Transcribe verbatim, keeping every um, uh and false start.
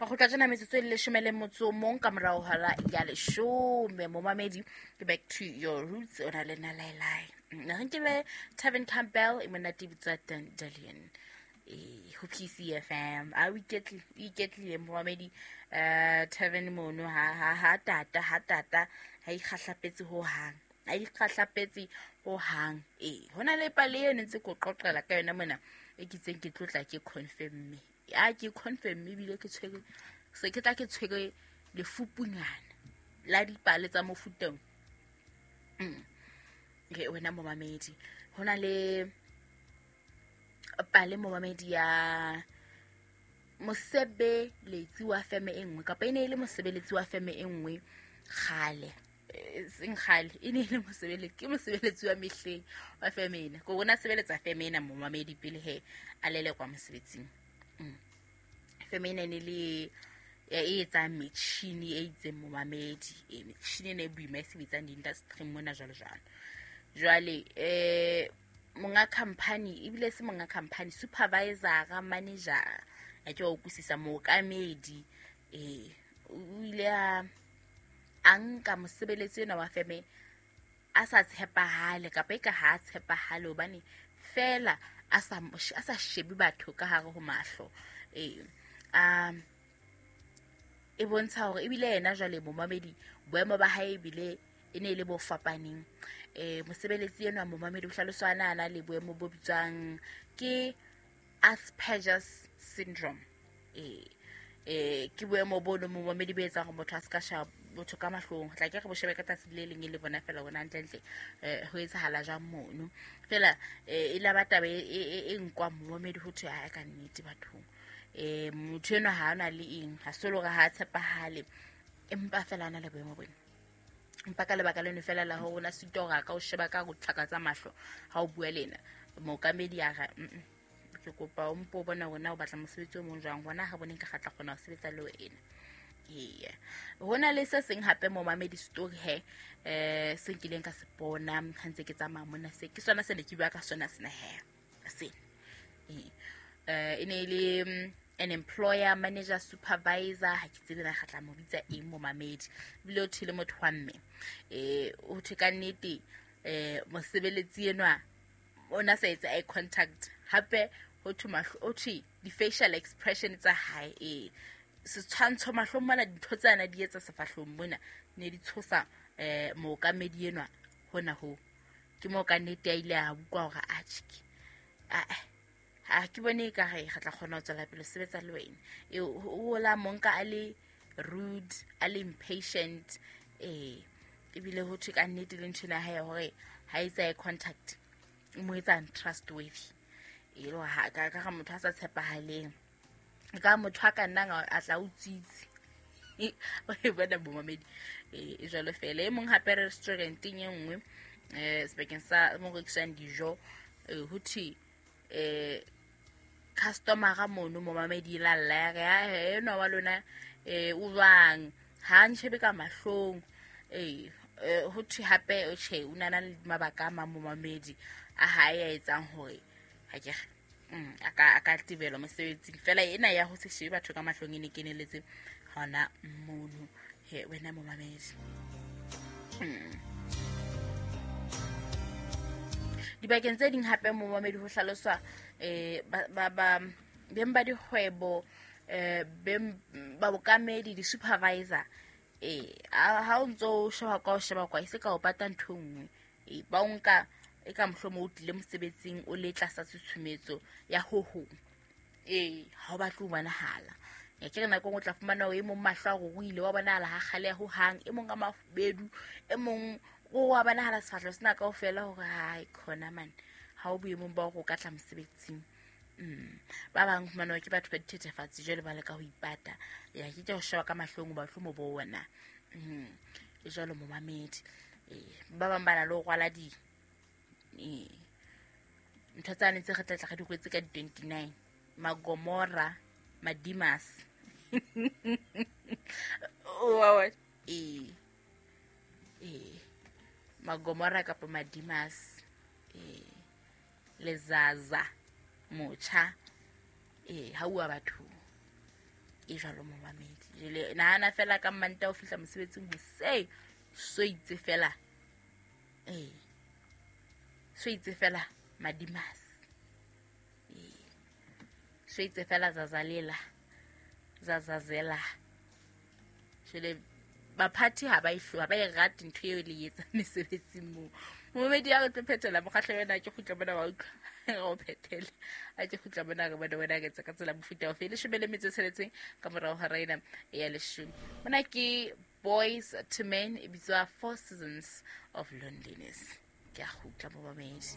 Re kgutla tjena metsotso e leshome le motso o mong ka morao hora ya leshome. Momamedi, ke back to your roots, o na le nna Laelai. Re nkile Tevin Campbell e monate bitswa Dandelion. Eh, ho P C F M. A o iketlile, o iketlile momamedi, eh Tevin mono ha ha ha tata ha tata ha ikgahlapetse ho hang. Ha ikgahlapetse ho hang. Eh, hona le pale e ntse ko qoqela ka yona mona e ke tseng ke tlotla ke confirm me. A ke confirm ebile ke tshwere se ke tla ke tshwere lefupunyana la dipale tsa mofuteng. Mm. Ke wena momamedi. Hona le pale momamedi ya mosebeletsi wa feme e nngwe kapa e ne e le mosebeletsi wa feme e nngwe kgale. Seng kgale, e ne e le mosebeletsi, ke mosebeletsi wa mehleng wa feme ena. Ko bona sebeletsa feme ena momamedi pele he a lelekwa mosebetsing. Mm. Feme ena e ne le e etsang metjhini e itseng momamedi, e metjhini ena e boima e sebetsang di-industry mona jwalo jwalo. Jwale eh monga company ebile se monga company, supervisor, manager, a ke o utlwisisa mookamedi, eh o ile a a nka mosebeletsi ena wa feme a sa tshepahale kapa e ka ha tshepahale hobane fela a sa a sa shebe batho ka hare ho mahlo. Eh um e bontsha hore ebile yena jwale momamedi boemo ba hae ebile e ne e le bo fapaneng. Eh mosebeletsi enwa momamedi o hlaloswa ana ana le boemo bo bitswang ke Asperger's syndrome. Eh eh ke boemo bo no momamedi bo etsang hore motho a ska sheba motho ka mahlong. Tla ke re bo shebe ka tsatsi le leng e le bona fela bona hantle-ntle eh ho etsahala jwang mono. Fela e la ba taba e e nkwa momamedi ho thwe ha ka nnete bathong. Eh motho enwa ha ana le eng, ha se hore ha tshepahale empa fela ana le boemo bona. Empa ka lebaka leno fela la hore o na sitwa hore a ka o sheba ka ho tlhaka tsa mahlo ha o bua le ena. Mookamedi a re mm ke kopa o mpo bona hore na o batla mosebetsi o mong jwang, hona ha boneng ka kgatla kgona ho sebetsa le wena. Eya. Hona le se seng hape momamedi story he eh se nkileng ka se bona ha ntse ke tsamaya mona, se ke sona se ne ke bua ka sona sena he. Se. Eh e ne le an employer, manager, supervisor, ha ke tsebe na kgatla mo bitsa eng momamedi. Ebile o thele motho wa mme. Eh o thwe ka nnete eh mosebeletsi enwa o na sa etsa eye contact hape ho thwe mahlo, o thwe di facial expression tsa hae eh setshwantsho mahlong mona dintho tse ana di etsa sefahlong mona ne di tshosa eh mookamedi enwa hona ho. Ke mo ka nnete a ile a bukwa hore a tjhe a ha ke bone ka re re tla kgona ho tswela pele sebetsa le wena. E o la monka a le rude, a le impatient, eh ebile ho thwe ka nnete le ntho ena ya hore ha etsa eye contact o mo etsa untrustworthy. E le ha ka ka motho a sa tshepahaleng, ka motho a ka nnang a tla o tsitsi. O e bona momamedi e jwalo fela. E mong hape restauranteng e nngwe eh sebakeng sa mo rekiswang dijo, ho thwe eh customer mono momamedi la lla ya re enwa wa lona eh o jwang ha ntshebe ka mahlong. Eh ho thwe hape o tjhe o nana le mabaka a mang momamedi a hae a etsang hore ha ke mm a ka a ka tibelwa mosebetsing. Fela ena ya ho se shebe batho ka mahlong e ne keneletse hona mono he wena momamedi. Mm. Dibakeng tse ding hape momamedi ho hlaloswa eh ba ba beng ba dikgwebo eh beng ba bokamedi di supervisor eh ha o ntso sheba kwa o sheba kwa e se ka o pata ntho nngwe eh ba o nka e ka mohlomo o tlile mosebetsing o le tlasa tshutshumetso ya ho ho eh ha o batle ho bonahala. Ya ke re nako o tla fumana o e mong mahlo a ruruile wa bonahala ha kgale ho hang, e mong ka mafubedu, e mong o wa bonahala sefahleho sena kaofela hore hai khona man ha o boemong ba hore o ka tla mosebetsing. Mm. Ba bang fumana ke batho ba dithethefatsi jwale ba leka ho ipata. Ya ke ke ho sheba ka mahlong ba tlo mo bona. Mm. E jwalo momamedi. Eh ba bang ba na le ho rwala di eh ntho tsane tse re tla tla re di kwetse ka di twenty-nine Magomora, Madimas. Oh eh eh Magomora kapa Madimas eh Lezaza motjha eh ha ua batho. E jwalo momamedi. Jwale nahana fela ka Mmantaha o fihla mosebetsing hoseng, so itse fela. Ee. So itse fela madimas. Ee. So itse fela zazalela. Zazazela. Jwale baphathi ha ba e ha ba e rate ntho eo le etsang mesebetsing moo. Momamedi ya re tlo phethela mokgahlo wena ke kgutla mona wa utlwa. Re o phethele. A ke kgutla mona re bone wena re etsa ka tsela mofuta ofe. Leshome le metso e tsheletseng ka morao hora ena ya leshome. Mona ke Boys to Men, e bitswa Four Seasons of Loneliness. Ke a kgutla momamedi.